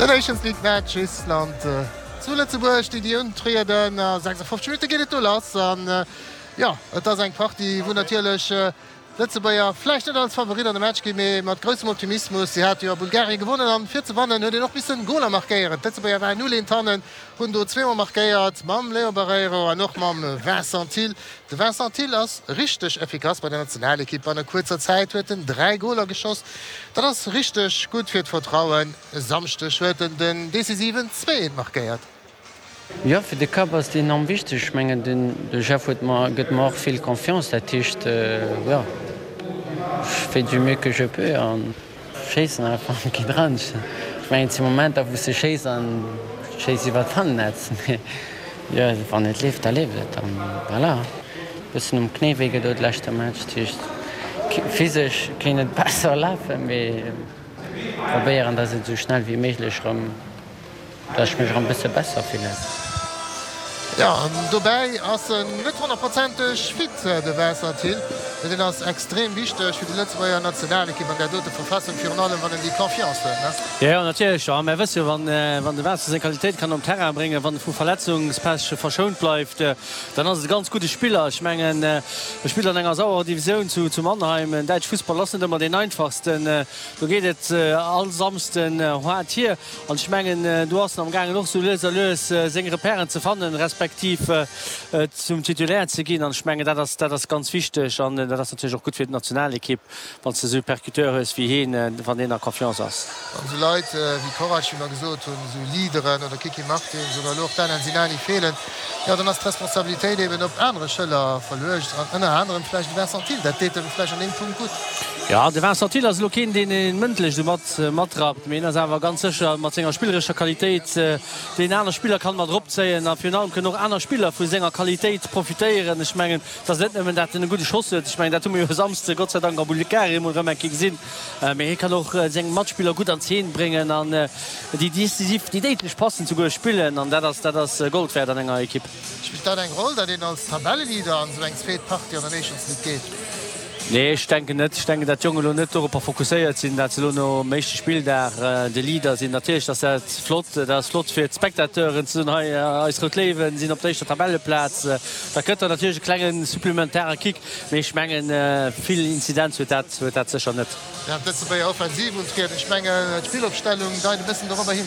Den Nations League Match Island zu Lëtzebuerg, déi déi untrieden. A 56 Minutte geet et do lass an jo, et ass eng Partie wou natierlech d'Lëtzebuerger vläicht net als Favorit an de Match ginn, mee mat groussem Optimismus. Si hate jo a Bulgarien gewonnen an fir ze wannen huet een och missen Goler markéieren. D'Lëtzebuerger waren 0 eent hannen, hunn do zweemol markéiert mam Léon Barreiro an och mam Vincent Thill. De Vincent Thill ass richteg effikass bei der Nationalekipp. Banne kuerzer Zäit huet en 3 Goler geschoss. Dat ass richteg gutt fir d'Vertrauen. E Samschdeg huet en den decisiven 2 markéiert. Jo, fir de Kapp ass et enorm wichteg. Ech mengen, de Jeff huet mer, gëtt mer och vill Confiance. Dat heescht, jo, ech fais du mieux que je peux an schéissen einfach an et geet eran. Ech mengen, et si Momenter, wou s de schéiss an schéiss iwwer d'Fangennetz. Mee jo, wann et leeft, da leeft et an voilà. Bëssen um Knéi wéi gedoe leschte Match, dat heescht, physesch kéint et besser lafen, mee probéieren, dass et esou schnell wéi méiglech erëm. Dass ech mech erëm bësse besser fillen. Jo, an dobäi ass en net honnertprozenteg fit, de Vincent Thill. Mee deen ass extrem wichteg fir déi Lëtzebuerger Nationalekipp an där dote Verfassung, virun allem wann en déi Confiance huet, ne? Jo, jo, natierlech. Jo, mär wësse jo, wann de Vincent seng Qualitéit kann um Terrain bréngen, wann e vu Verletzungspech verschount bleift, dann ass et e ganz gudde Spiller. Ech mengen, e spillt an enger sauerer Divisioun zu Mannheim. Den däitsche Fussball ass net ëmmer deen einfachsten. Do geet et all Samsden haart hier. An ech mengen, do ass en amgaangen och sou lues a lues seng Repèren ze fannen, respektiv zum Titulaire ze ginn. An ech mengen, dat ass, dat ass ganz wichteg an dat ass natierlech och gutt fir d'Nationalekipp, wann s de esou e Percuteur hues wéi hien, wann deen a Confiance ass. Wann esou Leit wéi Korac, wéi mer gesot hunn, esou Leaderen oder Kiki Martins oder elo och d'Alain Sinani feelen, jo dann ass d'Responsabilitéit eben op anere Schëller verluecht an ënner anerem vläicht de Vincent Thill. Dat deet em vläicht an deem Punkt gutt. Jo, de Vincent Thill ass elo keen, deen ee mëndlech esou mat matrappt, mee hien ass awer ganz sécher mat senger spillerescher Qualitéit, deen aner Spiller kann mat eropzéien a virun allem kënnen och aner Spiller vu senger Qualitéit profitéieren. Ech mengen, et ass net nëmmen, dat en e gudde Schoss huet, ech mengen, dat hu mer jo e Samsde Gott sei Dank a Bulgarien emol erëm eng Kéier gesinn, mee hie kann och seng Matspiller gutt an Zeen bréngen an déi decisiv, déi déidlech Passen souguer spillen an dat ass, dat ass Gold wäert an enger Ekipp. Spillt dat eng Roll, datt een als Tabelleleader an esou eng zweet Partie an der Nations League geet? Nee, ech denken net. Ech denken, dat d'Jongen elo net doropper fokusséiert sinn, dat se elo nom éischte Spilldag de Leader sinn. Natierlech ass dat flott, dat ass flott fir d'Spectateuren ze soen, hei eis Rout Léiwen sinn op der éischter Tabelleplaz. Dat gëtt dann natierlech e klenge supplementare Kick, mee ech mengen, vill Inzidenz huet dat, huet dat sécher net. Während d'Lëtzebuerger offensiv untrieden, ech mengen d'Spillopstellung deit e bëssen dorobber hin.